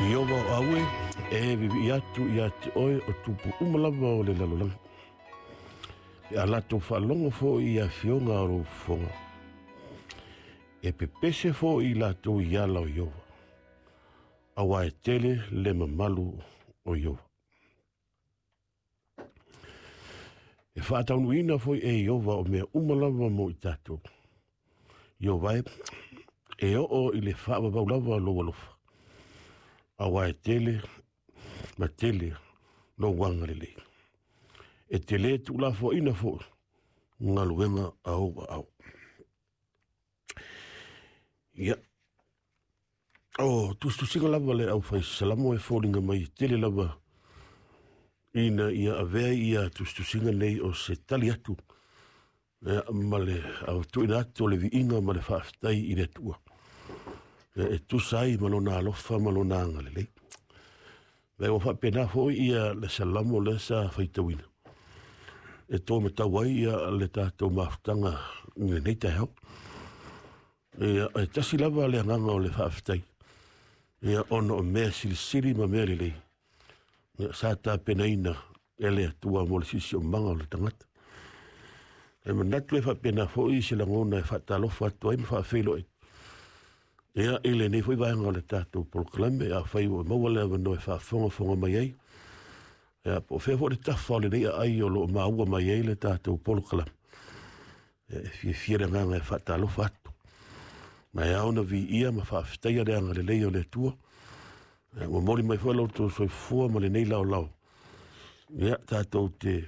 Ieova o aue e viivii atu ia te oe o tupu uma lava o le lalolagi. Pe a latou faalogo foi i afioga o lou fofoga, e pepese foi i latou i ala o Ieova, auā e tele le mamalu o Ieova. E faataunuuina foi e Ieova o mea uma lava mo i tatou. Ieova e, e oo i le faavavau lava lou alofa, auā e tele ma tele lou agalelei. E te lē tuulafoaiina foi galuega a ou aao. Ia, o tusitusiga lava le au fai salamo e foliga mai e tele lava ina ia avea ia tusitusiga nei o se tali atu ia, ma le tuuina atu o le viiga ma le faafetai i le Atua ia, e tusa ai ma lona alofa ma lona agalelei. Ia ua faapena foi ia le salamo lea sa faitauina e tō matau ai ia le tatou mafutaga i lenei taeao. Ia, e tasi lava le agaga o le faafetai, ia, ona o mea silisili ma mea lelei ia, sa tapenaina e le Atua mo le siosiomaga o le tagata. E manatu e faapena foi se lagona e faatalofa atu ai ma faafeiloai ia, i lenei foi vaega o le tatou polokalame, afai ua maua le avanoa e faafogafoga mai ai, ia, po o fea foi le tafa o lenei aai o lo o maua mai ai le tatou polokalame. Ia, e fiafia le agaga e faatalofa atu. Ma e ao ona viia ma faafetaia le agalelei o le Atua. Ia, momoli mai foi lo outou soifua ma lenei laolao. Ia, tatou te